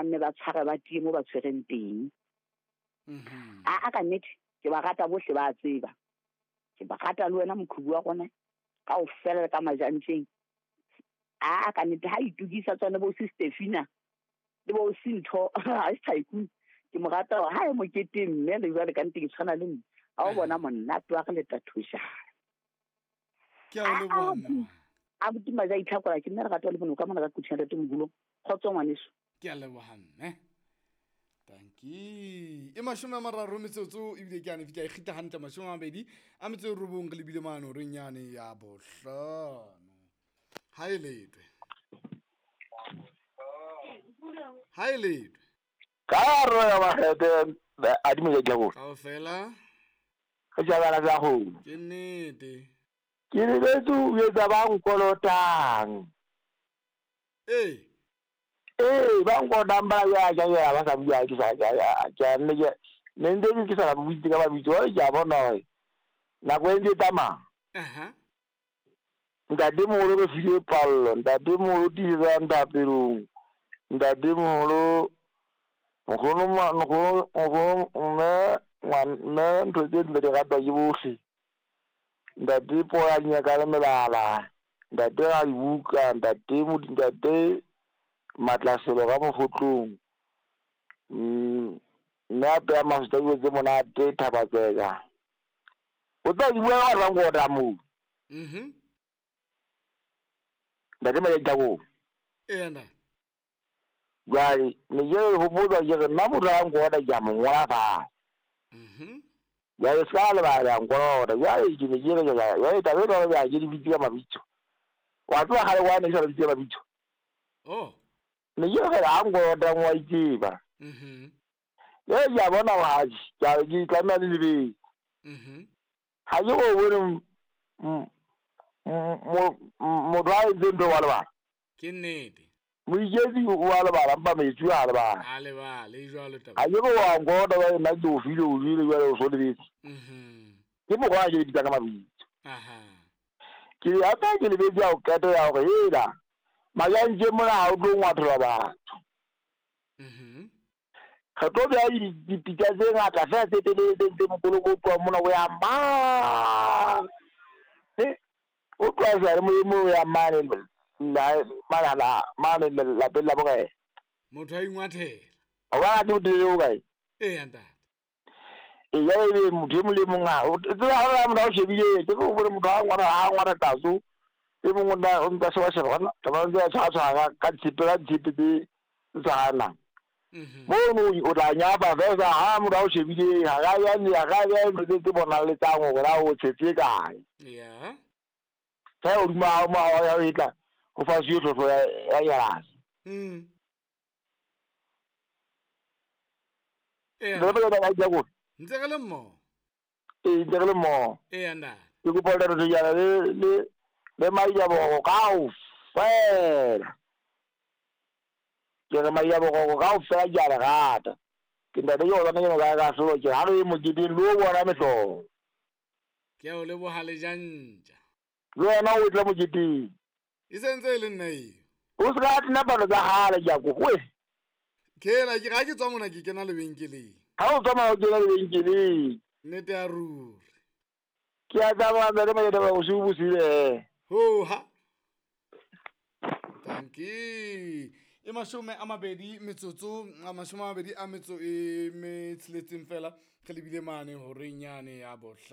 Ba nne ba tshware ba tie mo ba tshwereng teng. A ka nnete ke ba rata bohle ba tseba. Ke ba rata le wena mokhubu wa rona kaofela le ka majantjeng. A ka nnete ha itukisa tsone bo Stefina le bo Sintho ha se tycoon. Ke mo rata hore ha e moketeng mme le jwale ka nnete ke tshwana le nna. Ha o bona monate wa re leta thojana. Ke a o leboha mme. A botima ja itlhakola ke nna lerato le bono ka mona ka kuthina ntate moholo. Kgotso ngwaneso. Ke a leboha mme. Tanki. E 30 metsotso ebile ke ane fika e kgitla hantle 29 re lebile mane horeng yane ya 5. Ha e letwe. Ha e letwe. Ka ro ya bagete a di mo ja go. Kaofela. Re jabala ja go. Ke nnete. Ke lebetse o etsa ba nkolotang. Ee. Ee, ba nkolotang ba ya ja ya ba sa bua ke sa ya ke nne ke ne ntse ke sa ba buitse ka ba bitso ke a bona hore nako e ntse tsamaya. Aha. Ntate moholo re file pallo, ntate moholo tiisetsa nthapelong, ntate moholo nkgono mme mme ntho tse ntle di ratwa ke bohle. Ntate Pola nyaka le melala, ntate ga dibuka, ntate ntate Matlaselo ka mofotlong. Mme a peya masotsa dijo tse monate Thabatseka. O tla di bua ka batho ba nkota moo. Ntate Majajako. Ee ntate. Jwale ne ke re hopotsa ke re nna motho a nkota ke a mo ngola fatshe. Jwale se ka lebala ya nkolota. Jwale ke ne ke re jwale taba e jwalo ya ke di bitse ka mabitso. Wa tseba kgale wa ne ke sa bitse ka mabitso. Oh. Ne ke re ha nkolota wa itseba. Jwale ke a bona hore ha ke tlameha le lebetse. Ha ke o bone motho a entseng ntho wa lebala. Ke nnete. Moiketsi wa lebala mpa metsi a lebala. A lebala e jwalo taba. Ha ke wa nkota ba nna ke o file o jwele jwale o so lebetse. Ke mokgwa ke bitsa ka mabitso. Aha. Ke ata ke lebetse ya o qeto ya hore hela majantje mona ha o tlo ngwathola batho. Re tlo beha dipitsa tse ngata fela tse telele tse mokoloko o tloha mona o ya mane. O tloha seyalemoyeng o ya mane mane lapeng la bokae. Motho a ingwathela. O ba ke motelele o kae? Ee ntate. Ee jwale ebe motho e mong le mong a o tseba ha motho a o shebile ke go bone motho a ngwana a ngwana tlatso e mongwe o nka sheba sheba gona taba ntse a tshwatshwara ka tshipe tse tshwanang. Mono o tla nyapa fela ha motho a o shebile ha ga ya ne ga ya ntho tse bonaletsang hore na o tshetse kae. Yeah. Ka o duma mo ya o etla go fa se tlotlo ya yarase. Ee. Le ba ba ja go. Ntse re le mmoho. Ee, ntse re le mmoho. Ee ntate. Ke kopa le re jana le le Maiabogo kaofela. Ke re Maiabogo kaofela ke a le rata. Ke ntate ke o tsana ke ka solo ke ha re moketeng le o bona mehlolo. Ke a o leboha le jantja. Le wena o tla moketeng. E sentse e le nna eo. O se ka tena palo tsa kgale ke a kopa. Ke la ke ga ke tswa mona ke kena lebenkeleng. Ha o tswa mona o kena lebenkeleng. Nnete ya ruri. Ke a tsamaya ntate Majataba bosiu bo sile. Ho ha. Tanki. E 20 metsotso, 26 fela re lebile mane horeng yane ya 5.